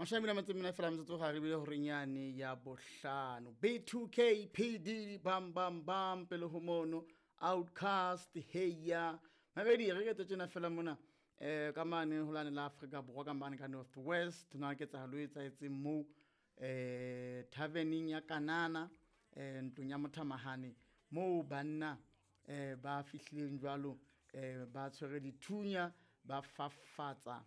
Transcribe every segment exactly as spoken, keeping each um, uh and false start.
Mashome a mabedi a metso e mene fela metsotso ga re bile horeng yane ya bohlano. B two K P D bam bam bam pele ho mono Outcast heya. Mabedi re ke tsena fela mona eh ka mane ho lane la Afrika Borwa ka mane ka North West na ke tsahalo e etsahetseng moo eh taverneng ya Kanana eh ntlong ya Mothamahane moo banna eh ba fihlileng jwalo eh ba tshwere dithunya ba fafatsa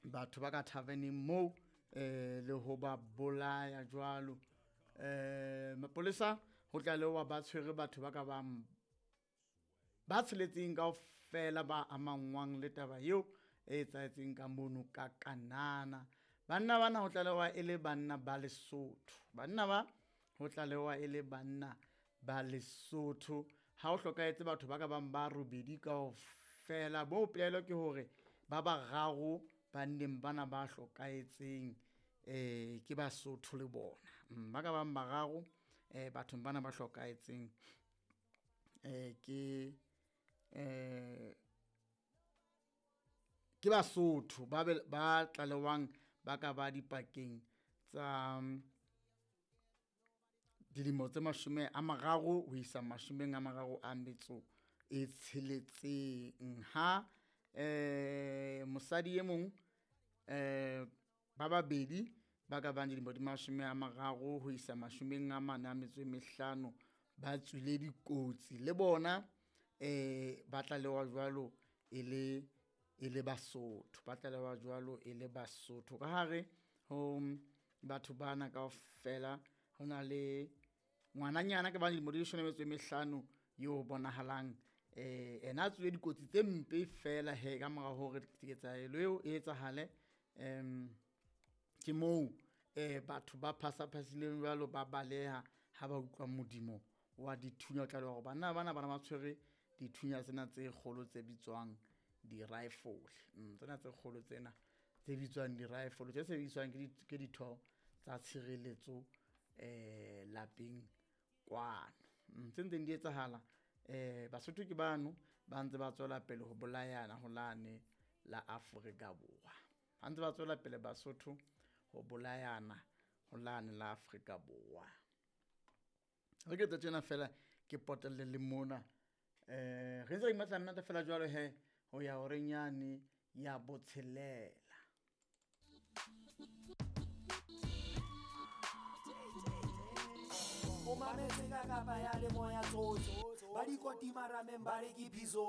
batho ba ka taverneng moo eh le ho ba bolaya jwalo. Eh mapolesa ho tlalewa ba tshwere batho ba ka bang ba tsheletseng kaofela ba amangwang le taba eo e etsahetseng ka mono ka Kanana. Banna bana ho tlalewa e le banna ba Lesotho. Banna ba ho tlalewa e le banna ba Lesotho. Ha ho hlokahetse batho ba ka bang ba robedi kaofela. Bo pelaelo ke hore ba bararo banneng bana ba hlokahetseng eh ke Basotho le bona. Ba ka bang bararo eh bathong bana ba hlokahetseng eh ke eh ke Basotho ba ba tlalewang ba ka ba dipakeng tsa dilemo tse mashome a mararo ho isa mashomeng a mararo a metso e tsheletseng. Ha eh mosadi e mong eh ba babedi ba ka bang dilemo di mashome a mararo ho isa mashomeng a mane a metso e mehlano ba tswile dikotsi le bona eh ba tlalewa jwalo e le e le Basotho, ba tlalewa jwalo e le Basotho. Ka hare ho batho bana kaofela ho na le ngwananyana ka ba dilemo di leshome le metso e mehlano eo bonahalang eh ena a tswile dikotsi tse mpe fela he ka mora hore ketsahalo eo e etsahale. Em ke moo eh batho ba phasaphasileng jwalo ba baleha ha ba utlwa modimo wa dithunya. O tlalewa hore banna bana bana ba tshwere dithunya tsena tse kgolo tse bitswang di-rifle. Mm, tsena tse kgolo tsena tse bitswang di-rifle tse sebediswang ke ke ditho tsa tshireletso eh lapeng kwano. Mm, tse ntseng di etsahala eh Basotho ke bano ba ntse ba tswela pele ho bolayana ho lane la Afrika Borwa. Ba ntse ba tswela pele Basotho ho bolayana ho lane la Afrika Borwa. Re ke tjena fela ke potelle le mona eh re ntse re imatla nnete fela jwalo he ho ya horeng yane ya botshelela. O mametse ka kapa ya le moya tsotso ba dikotima rameng ba re ke phiso.